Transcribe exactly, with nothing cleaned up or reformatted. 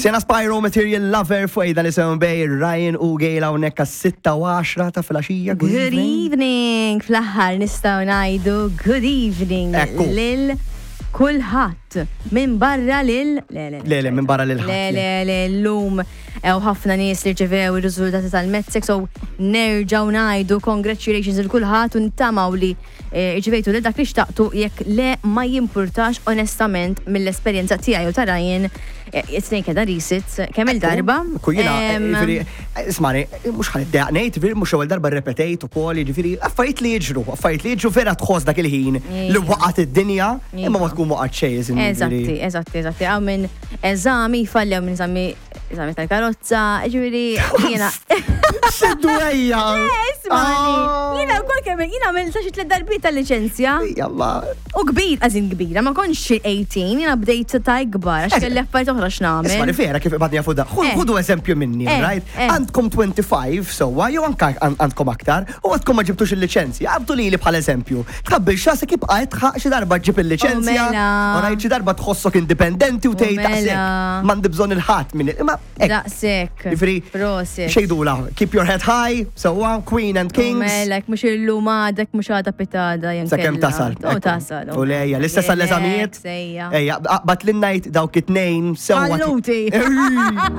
Sienna Spyro, Material Lover, fuq Ejda Nisimgħu bejn Ryan u Gail hawnhekk għas-sitta u għaxra ta' filgħaxija. Good evening! Fl-aħħar nistgħu ngħidu good evening Ekku. lil kulħadd minn barra lil le le Le, le, minn barra lil ħadd, Le le. le le llum hawn ħafna nies li rċevew ir-riżultati tal-MATSEC, so nerġgħu ngħidu congratulations lil kulħadd u nittamaw li eh, rċevejtu lil dak li xtaqtu. Jekk le, ma jimpurtax. Onestament, mill-esperjenza tiegħi u ta' Ryan, eh, it-tnejn kellna resits kemm il-darba. Ku jiena, Em, jiġifieri, ismani, mhux ħa niddejjaq ngħid, jiġifieri, mhux ewwel darba repetejt ukoll, jiġifieri, affarijiet li jiġru, affarijiet li jiġru, vera tħoss dak il-ħin li Iva. waqgħet id-dinja, imma ma Iva. tkun waqgħet xejn, jiġifieri. Eżatti, eżatti, eżatti. Hawn minn eżami falli, hawn minn eżami eżami tal-karozza, ġifieri, jiena. Xidwejja! Ismani, jiena wkoll kemm jiena għamilt xi tliet darbiet tal-liċenzja. Jalla. U kbir, għazin kbira, ma kontx xi tmintax, jiena bdejt ta' ikbar, għax kelli affarijiet oħra x'nagħmel. Ismani, vera kif ibadni jafu da. Eh. Ħudu eżempju minni, Eh, right? eh. Għandkom twenty-five, sewwa, jew anka għan- għandkom aktar, u għadkom ma ġibtux il-licenzja. Għabdu li li bħal eżempju. Tkabbir xasek ibqa' tħaq xi darba ġib il-licenzja. U mela. Alright, xi darba tħossok indipendenti u tgħid mela. daqshekk. M'għandi bżonn il-ħadd minn imma hekk. Daqshekk. Jiġifieri, Prosit. xejdula, keep your head high, sewwa, queen and U kings. Mela, mhux illum għadek, mhux għada pitada. Sakemm tasal. U tasal. U lejja, l-istess għall-eżamijiet. Sejja. Ejja, bat l-najt dawk it-tnejn sewwa. Falluti. Ej.